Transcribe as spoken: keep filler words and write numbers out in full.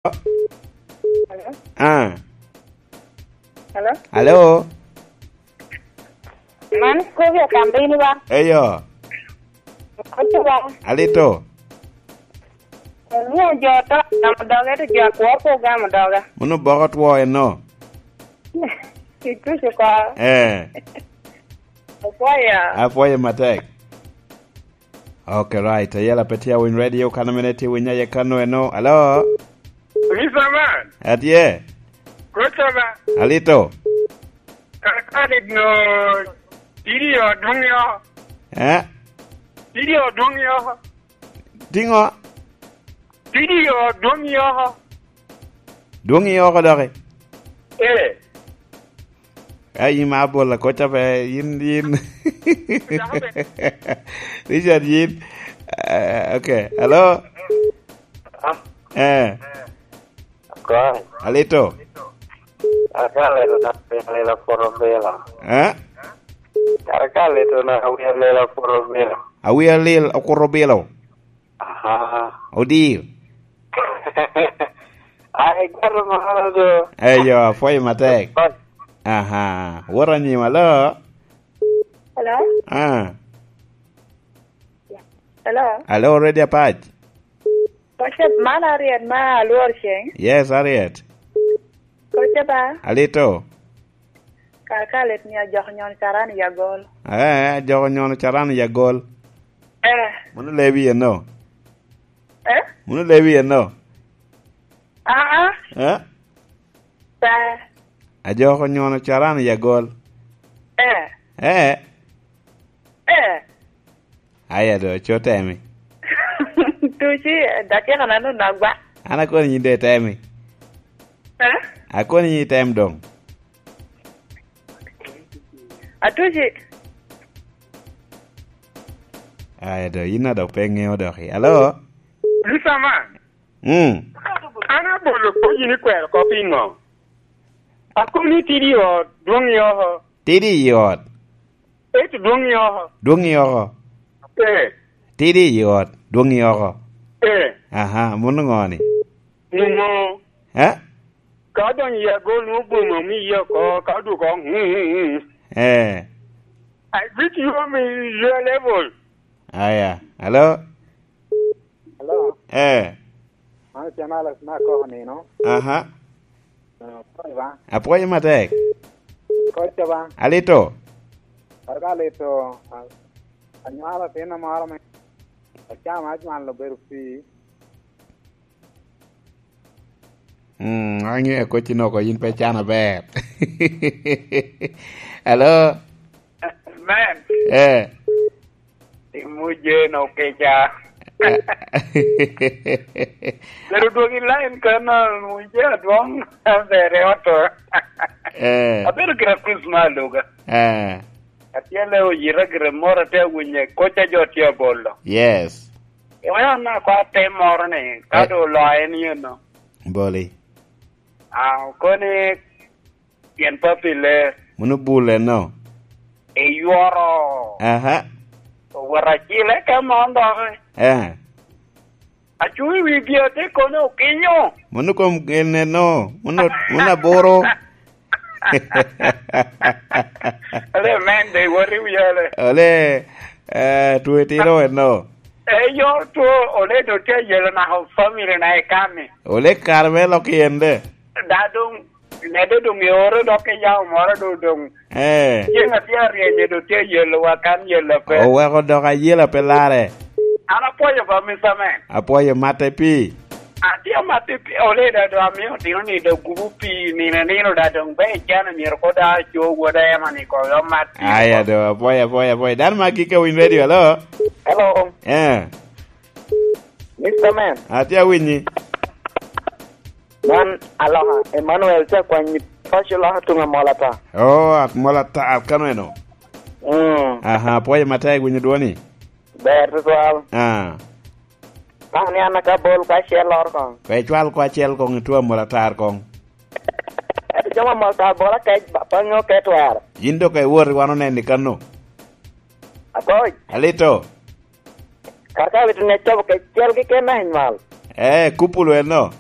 Hello? Ah. Hello? Hello? Man Scovia Kambini ba? Eyo. Kote ba? Alito. Ni jo to gamo doge to jo akwor ko gamo doga. Muno boko two eno. Ituco ko. Eh. Akwaya. Apwoyo matek. Okay, right. Ayela pe tye awiny radio, kan mene tye winya ye kano eno. Hello? Mister Man. Atye. Koca ba? Alito. Kakali no. Tidi yo dwong yo. Eh? Tidi yo dwong yo. Tingo? Tidi yo dwong yo. Dwong i oko doki. Eh. Ai, in ma abola koca pe, in, in. Richard, in. Eh, okay. Hello? Ah. Eh. Kwan. Alito. Kara ka leto na wi alela poro bila. Eh? Kara ka leto na wi alela poro bila. Awi alil okuro bilo. Aha. Odir. Ai, garo mara do. Eyo, apwoyo matek. Kwan. Aha. Wot anyim, alo? Hello? Ah. Hello? Alo, ready apac? Koca man Ariet ma alwor ceng. Yes, Ariet. Koca ba? Alito. Kaka lit ni ajok nyono caran i agol. Eh, ajok nyono caran i agol. Eh. Muno lebi eno. Eh? Muno lebi eno. Ah, ah. Eh? Pe. Ajok nyono caran i agol. Eh. Eh. Eh. Aya do, co temi. Tuci, dakika na nunu agwa. An akoni yin de temi. Eh? Akoni yin item dong. Atuci. Aya do, yin a dok pe ŋeo dok i. Alo? Lucaman. Mm. An abolo kop yin ikwero kop i ŋo? Akoni tidi i ot, dwoŋ i oko. Tidi i ot. Ento dwoŋ i oko. Dwoŋ i oko. Eh. Tidi i ot, dwoŋ i oko. Eh. Aha, muno ŋo ni? Muno. Eh? Ka odonyo i agol, nwoŋo boma omiye oko, ka odwogo, mm, mm, mm. Eh. I greet you on your level. Aya. Hello? Hello? Eh. Mano Jamal Asma koko nino. Aha. Ah, pwony ba? Apwoyo matek. Koca ba? Alito. Kar ka alito, a-, anywalo atinna moro me, acamo, acwalo obedo pii. Mm, ange koci noko yin pe can aber. Hello? Man. Eh. Imuje no keca. Eh. Pero dwogi line kana muje adwong bere oto. Eh. Abedo kira Christmas luga. Eh. Atyele oyira gire moro ate awinye koca jo tye abolo. Yes. Iwena na kwa tem moro ni, ka eh, do oloye ni eno. Boli. Ah, okoni pien papi ler. Muno bule no. Eyoro. Aha. Owero acile ka mon doki. Eh. Acuŋ i wi gi ate kono okinyo. Muno kom genne no. Muno, muno aboro. Ole men de wori wiye ole. Ole, eh, tuwe tiro eno. Eyo two ole do tye yelo nako family na i kami. Ole kare me lok i en de. Da dong, mede dong i oro dok i yawo moro do dong. Eh. Ceng atye aryenye do tye yelo wa kan yelo pe. Oweko dok ayela pe lare. An apwoyo ba, Mister Man. Apwoyo matte pii. Atye amatte pii, oleda do amio tino ni do gubu pii nino nino da dong be icano myero ko da co woda ema ni ko yo mat pii. Aya do, apwoyo, apwoyo, apwoyo. Dano ma gik awiny radio, hello? Hello. Eh. Mister Man. Atye awinyi. Man aloka Emmanuel tye akwanyi paco loka tuŋ amol ata. Oh, amol ata, kano eno. Mm. Aha, apwoyo matek winyo dwoni. Ber tutwal. Ah. Ka ni an aka bol ko acel loro koŋ. Pe cwal ko acel koŋ, itwa amol atar koŋ. Ento jami amol atar bol akec ba, pe aŋeo ke twero. Yin dok iwot i wan oneni kano. Akoc. Alito. Kar ka wito ni acobo kec cel keken na inywal. Eh, kupulu eno.